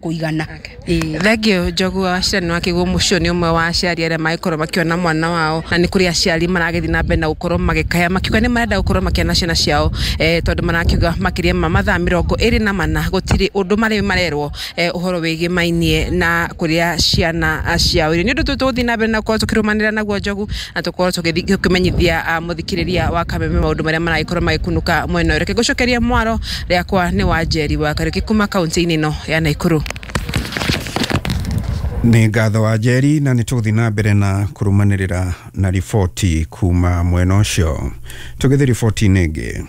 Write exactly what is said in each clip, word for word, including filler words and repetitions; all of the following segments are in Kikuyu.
Kuigana. Thengio, Njogu wa Wachira. Nĩ wakĩguo mũcio nĩ ũmwe wa aciari arĩa magĩkorwo makĩona mwana wao, na nĩ kũrĩ aciari maragĩthiĩ na mbere na gũkorwo magĩkaya makiuga nĩ marenda gũkorwo makĩona ciana ciao, eh, tondũ marakiuga makĩria ma mathaa mĩrongo ĩrĩ na mana gũtirĩ ũndũ marĩ marerwo eh, ũhoro wĩgĩmainie na kũrĩa ciana ciao irĩ. Nĩ ũndũ tũgũthiĩ na mbere na gũkorwo tũkĩrũmanĩra naguo, Njogu, na tũkorwo tũkĩmenyithia ah, mũthikĩrĩria wa Kameme maũndũ marĩa maragĩkorwo magĩkunũka mwena ũyũ. Reke ngũcokeria mwaro rĩakwa nĩ wa Njeri wa Kariũki kuma kaunti-inĩ ĩno ya Naikuru. Nĩ ngatho wa Njeri, na nĩ tũgũthiĩ na mbere na kũrũmanĩrĩra na riboti kuma mwena ũcio. Tũgĩthiĩ riboti-inĩ ĩngĩ,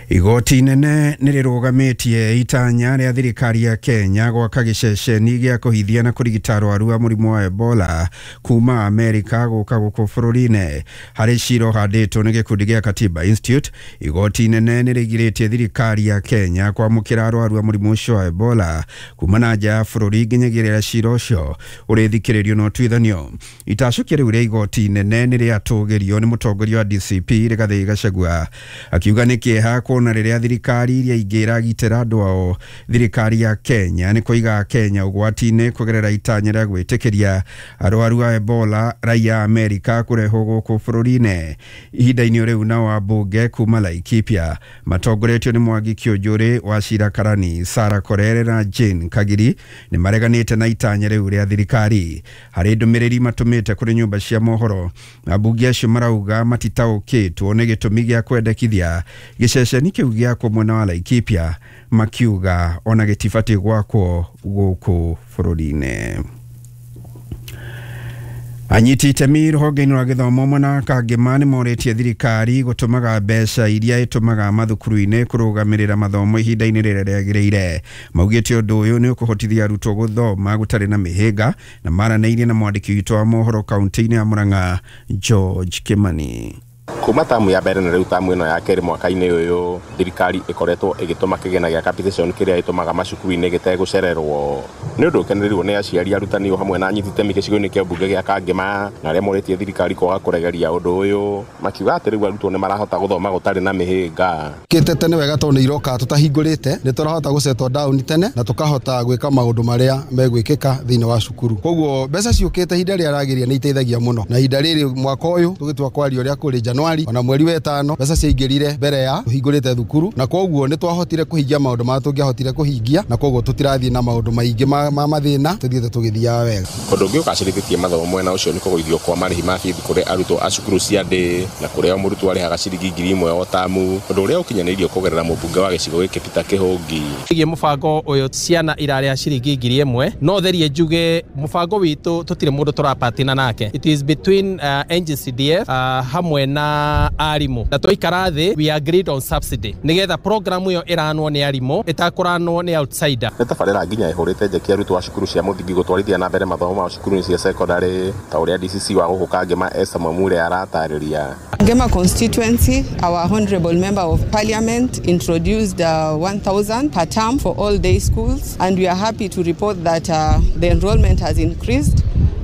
igoti inene nĩ rĩrũgamĩtie itanya rĩa thirikari ya Kenya gwaka gĩceceni gĩa kũhithia na kũrigita arwaru a mũrimũ wa Ebola kuma Amerika gũka gũkũ bũrũri-inĩ. Harĩ cira ũhandĩtwo nĩ gĩkundi gĩa Katiba Institute, igoti inene nĩ rĩgirĩtie thirikari ya Kenya kwamũkĩra arwaru a mũrimũ ũcio wa Ebola kuma na nja ya bũrũri nginyagia rĩrĩa cira ũcio ũrĩthikĩrĩrio na ũtuithanio. Itacũkia rĩu rĩa igoti inene nĩ rĩatũgĩrio nĩ mũtongoria wa D C P Rigathĩ Gachagua, akiuga nĩ kĩeha kuona rĩrĩa thirikari iria ingĩ iragitĩra andũ ao, thirikari ya Kenya nĩ kũiga Kenya ũgwati-inĩ kũgerera itanya rĩa gwĩtĩkĩria arwaru a Ebola raia a Amerika kũrehwo gũkũ bũrũri-inĩ. Ihinda-inĩ rĩu, nao ambunge kuma Laikipia matongoretio nĩ Mwangi Kiunjuri, Wachira Karani, Sara Korere na Jane Kagiri nĩ mareganĩte na itanya rĩu rĩa thirikari. Harĩ ndũmĩrĩri matũmĩte kũrĩ nyũmba cia mohoro, ambunge acio marauga matitaũkĩtwo nĩ gĩtũmi gĩa kwendekithia gĩceceni kĩu gĩakwo mwena wa Laikipia, makiuga ona gĩtibatiĩ gwakwo gũkũ bũrũri-inĩ. Anyiti itemi rũhonge-inĩ rwa gĩthomo mwena wa Kangema nĩ morĩtie thirikari gũtũmaga mbeca iria ĩtũmaga mathukuru-inĩ kũrũgamĩrĩra mathomo ihinda-inĩ rĩrĩa rĩagĩrĩire. Maugĩte ũndũ ũyũ nĩ ũkũhotithia arutwo gũthoma gũtarĩ na mĩhĩnga, na maranĩirie na mwandĩki witũ wa mohoro kaunti-inĩ ya Murang'a, George Kimani. Kuma tamu ya mbere na rĩu tamu ĩno ya kerĩ mwaka-inĩ ũyũ, thirikari ĩkoretwo ĩgĩtũma kĩgĩna gĩa capitation kĩrĩa ĩtũmaga macukuru-inĩ gĩtegũcererwo. Nĩ ũndũ ũkenereirwo nĩ aciari, arutani o hamwe na anyiti itemi gĩcigo-inĩ kĩa mbunge gĩa Kangema, na arĩa morĩtie thirikari kwaga kũregeria ũndũ ũyũ, makiuga atĩ rĩu arutwo nĩ marahota gũthoma gũtarĩ na mĩhĩnga. Kĩte tene wega tondũ nĩ iroka tũtahingũrĩte, nĩ tũrahota gũsettle down tene na tũkahota gwĩka maũndũ marĩa megwĩkĩka thĩinĩ wa cukuru. Koguo mbeca ciũkĩte ihinda rĩrĩa ragĩrĩire nĩ iteithagia mũno, na ihinda rĩrĩ mwaka ũyũ tũgĩtua kwaria ũrĩa kũrĩ Januari ona mweri wa ĩtano, mbeca ciaingĩrire mbere ya tũhingũrĩte thukuru, na koguo nĩ twahotire kũhingia maũndũ marĩa tũngĩahotire kũhingia, na koguo tũtirathiĩ na maũndũ maingĩ ma, ma mathĩna, tũthiĩte tũgĩthiaga wega. Ũndũ ũngĩ ũgacĩrithĩtie mathomo mwena ũcio nĩ kũgũithio kwa marĩhi ma bithi kũrĩ arutwo a cukuru cia ndĩ, na kũrĩa o mũrutwo arĩhaga ciringi ngiri ĩmwe o tamu, ũndũ ũrĩa ũkinyanĩirio kũgerera mũmbunge wa gĩcigo gĩkĩ Peter Kĩhũngi. Ĩgiĩ mũbango ũyũ, ciana irarĩha ciringi ngiri ĩmwe. No therie njuge mũbango witũ tũtirĩ mũndũ tũrapatina nake. It is between uh, N G C D F uh, hamwe na arimũ, na twaikara thĩ we agreed on subsidy nĩgetha program ĩyo ĩranwo nĩ arimũ, ĩtakũranwo nĩ outsider. Nĩ tabarĩra nginya ĩhũrĩte njeki arutwo a cukuru cia mũthingi gũtwarithia na mbere mathomo mao cukuru-inĩ cia cekondarĩ, ta ũrĩa D C C wa gũkũ Kangema Esther Mwamure aratarĩria. Kangema constituency, our honorable member of parliament introduced uh, one thousand per term for all day schools, and we are happy to report that uh, the enrollment has increased.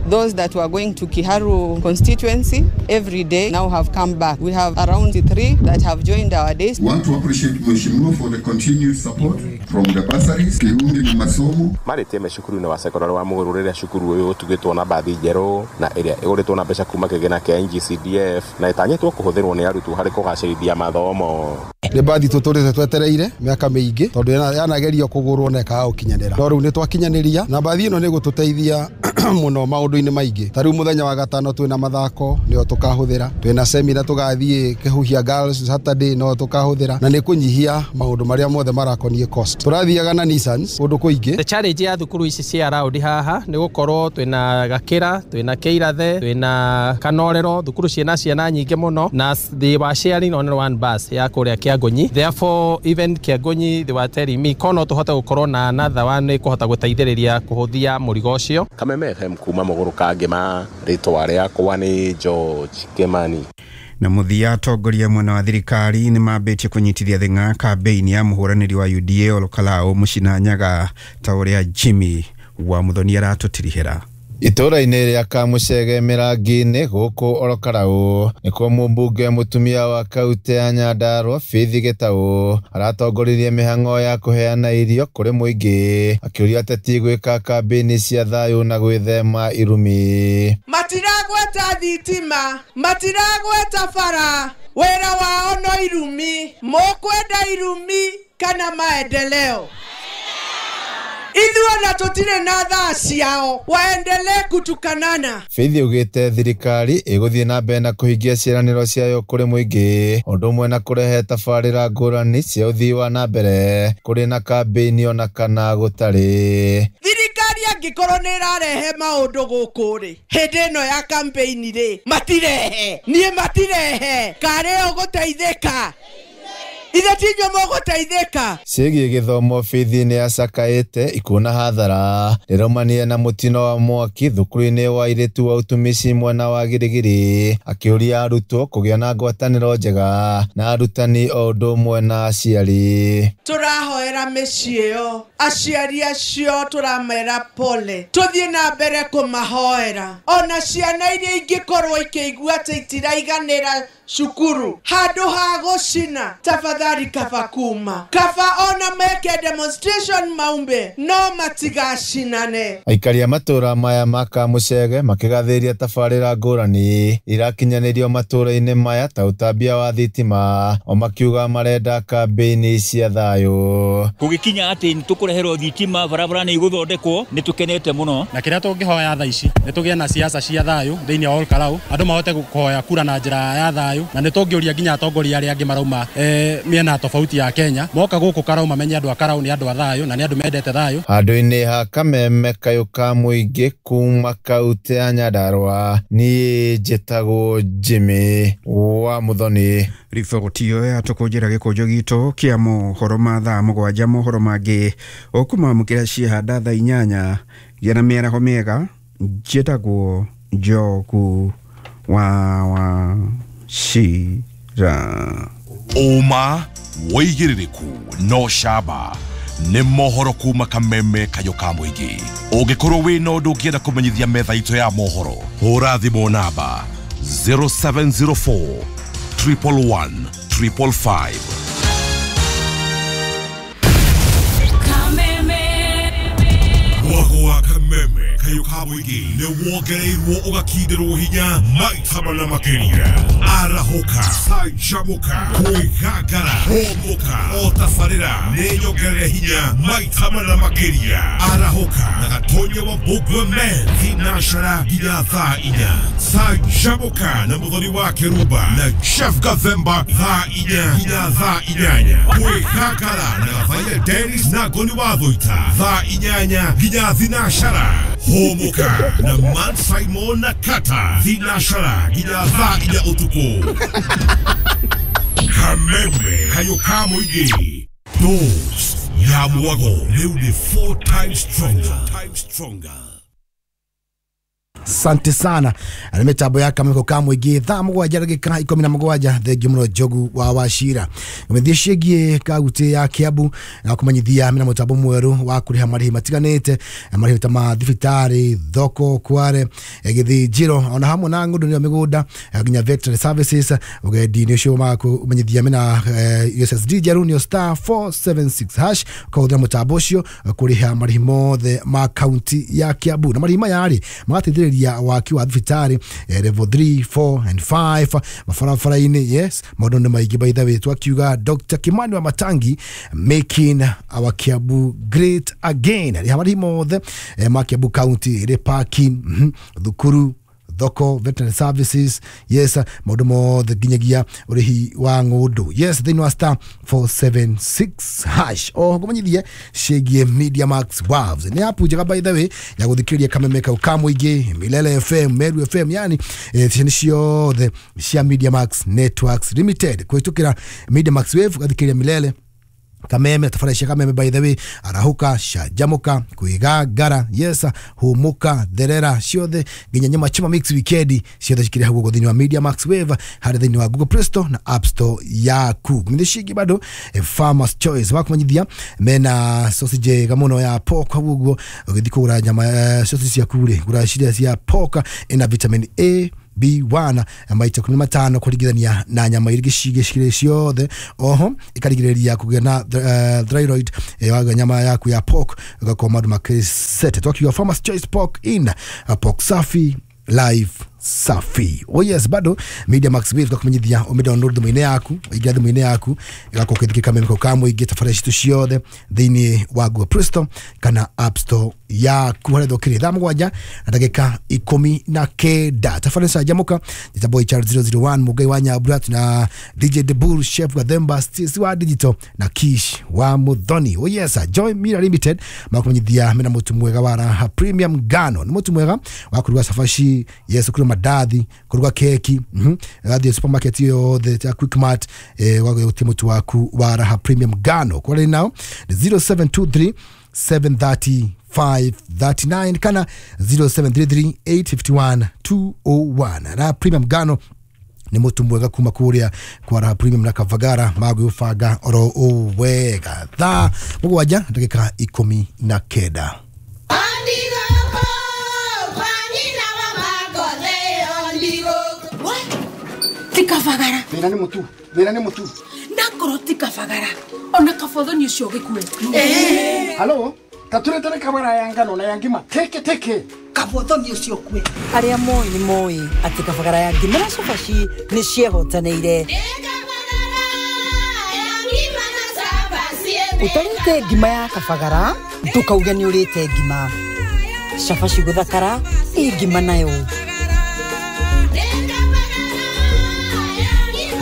Those that were going to Kiharu constituency every day now have come back. We have around three that have joined our days. Want to appreciate Mheshimiwa for the continued support from the bursaries, Kihungi na masomo. Marĩtie me cukuru-inĩ wa cekondarĩ wa Mũgũrũ rĩrĩa cukuru ũyũ ũtugĩtwo na mbathi njerũ na ĩrĩa ĩgũrĩtwo na mbeca kuma kĩgĩna kĩa N G C D F na ĩtanyĩtwo kũhũthĩrwo nĩ arutwo harĩ kũgacĩrithia mathomo. Nĩ mbathi tũtũrĩte twetereire mĩaka mĩingĩ tondũ yana- yanagerio kũgũrwo na ĩkaga gũkinyanĩra, no rĩu nĩ twakinyanĩria, na mbathi ĩno nĩ ĩgũtũteithia mũno maũndũ-inĩ maingĩ. Ta rĩu mũthenya wa gatano twĩna mathako, nĩyo tũkahũthĩra, twĩna semina tũgathiĩ Kĩhuhia Girls Saturday, no tũkahũthĩra, na nĩ kũnyihia maũndũ marĩa mothe marakoniĩ cost. Tũrathiaga na Nissans kũndũ kũingĩ. The challenge ya thukuru ici cia around haha nĩ gũkorwo twĩna Gakĩra, twĩna Kĩirathe, twĩna Kanorero, thukuru ciĩna ciana nyingĩ mũno, na they were sharing only one bus ya kũrĩa Kĩangũnyi. Therefore, even Kĩangũnyi, they were telling me ko no tũhote gũkorwo na another one ĩkũhota gũteithĩrĩria kũhũthia mũrigo ũcio. Kameme F M kuma Mũgũrũ Kangema, rĩtwa rĩakwa nĩ George Kimani. Na mũthia, atongoria mwena wa thirikari nĩ mambĩtie kũnyitithia thing'a kambĩini ya mũhũranĩri wa U D A Olkalou Mũcina Nyaga, ta ũrĩa Jimmy wa Mũthoni aratũtirihĩra. Itũũra-inĩ rĩa Kamucege Mĩrangi-inĩ gũkũ Orokarau nĩkuo mũmbunge mũtumia wa kaunti ya Nyandarua Faith Gĩtaũ aratongoririe mĩhang'o ya kũheana irio kũrĩ mũingĩ, akĩũria ateti gwĩka kambĩini cia thayũ na gwĩthema irumi. Matiragweta thitima, matiragweta bara, wĩra wao no irumi. Mũkwenda irumi kana maendeleo? Ithuĩ na tũtirĩ na thaa ciao, waendelee kutukanana. Faith augĩte thirikari ĩgũthiĩ na mbere na kũhingia ciĩranĩro ciayo kũrĩ mũingĩ, ũndũ ũmwe na kũrehe tabarĩra ngũrani cia ũthii wa na mbere kũrĩ na kambĩini ona kana gũtarĩ. Thirikari angĩkorwo nĩ ĩrarehe maũndũ gũkũ rĩ, hĩndĩ ĩno ya campaign rĩ, matirehe. Niĩ matirehe. Karĩ ũgũteithĩka? Ithe tinyo mũgũteithĩka. Ciĩgiĩ gĩthomo, Faith nĩ acakaĩte ikuũ na hathara rĩraumania na mũtino wa mwaki thukuru-inĩ wa airĩtu wa ũtumishi mwena wa Girigiri, akĩũria arutwo kũgĩa na ngwatanĩro njega na arutani o ũndũ ũmwe na aciari. Tũrahoera mĩciĩ ĩyo, aciari acio tũramera pole, tũthiĩ na mbere kũmahoera. Ona ciana iria ingĩkorwo ikĩigua atĩ itiraiganĩra cukuru, handũ ha gũcina, tafadhali kaba kuma kaba ona meke demonstration maumbe, no matigacinane. Aikari a matũũra maya ma Kamucege makĩgathĩrĩria tabarĩra ngũrani irakinyanĩrio matũũra-inĩ maya ta ũtambia wa thitima, o makiuga marenda kambĩini cia thayũ. Gũgĩkinya atĩ nĩ tũkũreherwo thitima, barabara nĩ igũthondekwo, nĩ tũkenete mũno. Na kĩrĩa tũngĩhoya thaa ici nĩ tũgĩe na siasa cia thayũ thĩinĩ wa Olkarau, andũ mahote kũhoya kura na njĩra ya thayũ, na nĩ tũngĩũria nginya atongoria arĩa angĩ marauma eh, mĩena tofauti ya Kenya moka gũkũ Karau mamenye andũ a Karau nĩ andũ a thayũ na nĩ andũ mendete thayũ. Handũ-inĩ ha Kameme kayũ ka mũingĩ kuma kaunti ya Nyandarua, niĩ njĩtagwo Jimmy wa Muthoni. Riboti ĩyo yatũkũnjĩra gĩkũnjo gitũ kĩa mohoro ma thaa mũgwanja. Mohoro mangĩ ũkũmamũkĩra ciehanda thaa inyanya. Gĩa na mĩaraho mĩega. Njĩtagwo Njogu wa Wachira. Ũma wĩigĩrĩrĩku no camba nĩ mohoro kuma Kameme kayũ ka mũingĩ. Ũngĩkorwo wĩna ũndũ ũngĩenda kũmenyithia metha itũ ya mohoro, hũra thimũ namba zero seven zero four triple one triple five. Mwago wa Kameme kayũ ka mũingĩ nĩ wongereirwo ũgakindĩrwo hinya maita mana makĩria. Arahũka, canjamũka, kwĩgangara, hũmũka, o tabarĩra nĩ nyongerere hinya maita mana makĩria. Arahũka na Gatonya wa Mbũgua Men thinashara nginya thaa inya. Canjamũka na Mũthoni wa Kĩrumba na Chef Gathemba thaa inya nginya thaa inyanya. Kwĩgangara na Gathaia Dennis na Ngoni wa Thũita thaa inyanya nginya thinashara. Hũmũka na Man Simon na Kata thinashara nginya thaa inya ũtukũ. Kameme kayũ ka mũingĩ, dose ya mwago rĩu nĩ four times stronger. Asante sana. Na mitambo ya Kameme ka mũingĩ thaa mũgwanja ndagĩka ikũmi na mũgwanja. Thengiũ mũno Njogu wa Wachira. Ngũmĩthie ciĩgiĩ kaunti ya Kiambu na kũmenyithia mena mũtambo mwerũ wa kũrĩha marĩhi matiganĩte, marĩhi ta ma thibitarĩ, thoko, kware, gĩthĩnjĩro ona hamwe na ng'ũndũ nĩyo mĩgũnda nginya veterinary services. Ũgendi-inĩ ũcio makũmenyithia mena U S S D njerũ nĩyo star four seven six hash ũkahũthĩra mũtambo ũcio kũrĩha marĩhi mothe ma kaunti ya Kiambu. Na marĩhi maya rĩ magateithĩrĩria waki wa thibitarĩ level three, four and five mabarabara-inĩ. Yes, maũndũ nĩ maingĩ by the way. Twakiuga Doctor Kimani wa Matangi making our Kiambu great again. Rĩha marĩhi mothe ma Kiambu County, rĩ parking, thukuru, thoko, veterinary services, yes, maũndũ mothe nginyagia ũrĩhi wa ng'ũndũ. Yes, thĩinĩ wa star four seven six hash. O ngũmenyithie ciĩgiĩ Media Max Waves. Nĩ app njega by the way ya gũthikĩrĩria Kameme kau ka mũingĩ, Milele F M, Meru F M, yani ceceni ciothe cia Media Max Networks Limited. Kũhĩtũkĩra Media Max Wave ũgathikĩrĩria Milele Kameme tabarĩra cia Kameme by the way, arahũka, canjamũka, kwĩgangara, yes, hũmũka, therera, ciothe nginya nyama choma mix weekend ciothe cikĩrĩ hau ũguo thĩinĩ wa Media Max Wave harĩa thĩinĩ wa Google Play Store na App Store yaku. Ng'ithe cingĩ bado eh, Farmers Choice wakũmenyithia mena sausage njega mũno ya pork hau ũguo ũgĩthiĩ kũgũra nyama eh, sausage ciaku rĩ, gũra ciria cia pork ina vitamin A B one maita ikũmi na matano kũringithania na nyama iria ingĩ cikĩrĩ ciothe. Oho ĩkarigĩrĩria kũgĩa na uh, thyroid eh, waga nyama yaku ya pork ũgakorwo maũndũ makĩrĩ set. Twakiuga Farmers Choice Pork in uh, pork safi life safi. Oh yes, bado Media Max Wave twakumenyithia ũmĩ download thimũ-inĩ yaku, ũingĩra thimũ-inĩ yaku ĩgakorwo ũkĩthikĩrĩria Kameme kau ka mũingĩ tabarĩra citũ ciothe thĩinĩ wa Google Play Store kana App Store yaku harĩa thokĩrĩ thaa mũgwanja na ndagĩka ikũmi na kenda. Tabarĩra canjamũka njĩtagwo H R zero zero one Mũngai wa Nyambura na D J Debur, Chef Gathemba, Stacey wa Digital na Kish wa Muthoni. Oh yes, Joy Mira Limited makumenyithia mena mũtu mwega wa Raha Premium Ngano, nĩ mũtu mwega wa kũruga cabaci, yes, kũruga mandathi, kũruga keki, mhm gathiĩ supermarket yothe ta Quickmart eh wagũtia mũtu waku wa Raha Premium Ngano. Kwa rĩu nao ni zero seven two three seven thirty five thirty nine kana zero seven three three eight fifty one two oh one. Raha Premium Ngano nĩ mũtu mwega kuma kũrĩa kwa Raha Premium na Kavagara magwĩbanga oro o wega. Thaa mũgwanja ndagĩka ikũmi na kenda. Tikavagara. Thĩna nĩ mũtu, thĩna nĩ mũtu. Nakorwo tikavagara. Ona kabothoni ũcio ũgĩkue. Eh. Halo, taturetere kabara ya ngano na ya ngima teke teke. Kabothoni ũcio ũkue. Arĩa moĩ nĩ moĩ atĩ kabagara ya ngima na cabaci nĩ ciehotanĩire. Ũtarĩte ngima ya kabagara, ndũkauge nĩ ũrĩte ngima. Cabaci gũthakara, ĩ ngima nayo.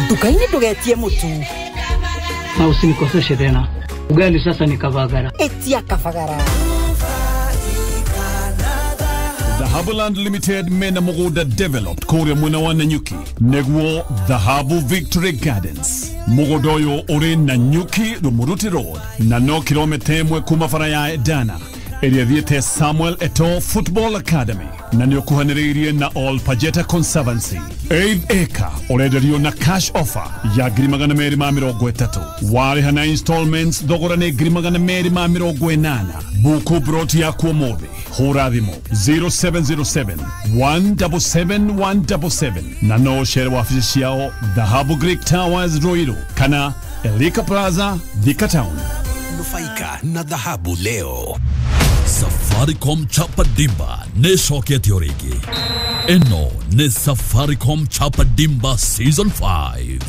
Nduka-inĩ ndũgetie mũtu. Na usinikoseshe tena. Ugali sasa ni kabagara. Etia kabagara. Dhahabuland Limited mena mũgũnda developed kũrĩa mwena wa Nanyuki nĩguo Dhahabu Victory Gardens. Mũgũnda ũyũ ũrĩ Nanyuki Rumuruti Road na no kilomita ĩmwe kuma bara ya Edana ĩrĩa ĩthiĩte Samuel Eto'o Football Academy na nĩ ũkuhanĩrĩirie na All Pajeta Conservancy. Eighth acre ũrenderio na cash offer ya ngiri magana merĩ ma mĩrongo ĩtatũ, warĩha na installments thogora nĩ ngiri magana merĩ ma mĩrongo ĩnana. Buku broti yaku ũmũthĩ, hũra thimũ zero seven zero seven one seven seven one seven seven na no ũcere wabici ciao Dhahabu Greek Towers Ruiru kana Elika Plaza Thika Town. Nufaika na dhahabu leo. Safaricom Chapa Dimba nĩcokete o rĩngĩ. Ĩno nĩ Safaricom Chapa Dimba Season five.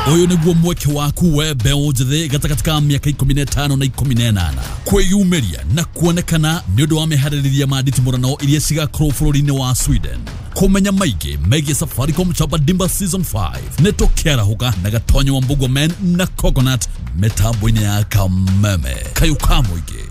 Ũyũ nĩguo mweke waku we mbeũ njĩthĩ gatagatĩ ka mĩaka ikũmi na ĩtano na ikũmi na ĩnana kwĩyumĩria na kuonekana nĩ ũndũ wa meharĩrĩria ma nditimũrano iria cigakorwo bũrũri-inĩ wa Sweden. Kũmenya maingĩ megiĩ Safaricom Chapa Dimba Season five nĩ tũkĩarahũka na Gatonyo wa Mbugua Men na Coconut mĩtambo-inĩ ya Kameme. Kayũ ka mũingĩ.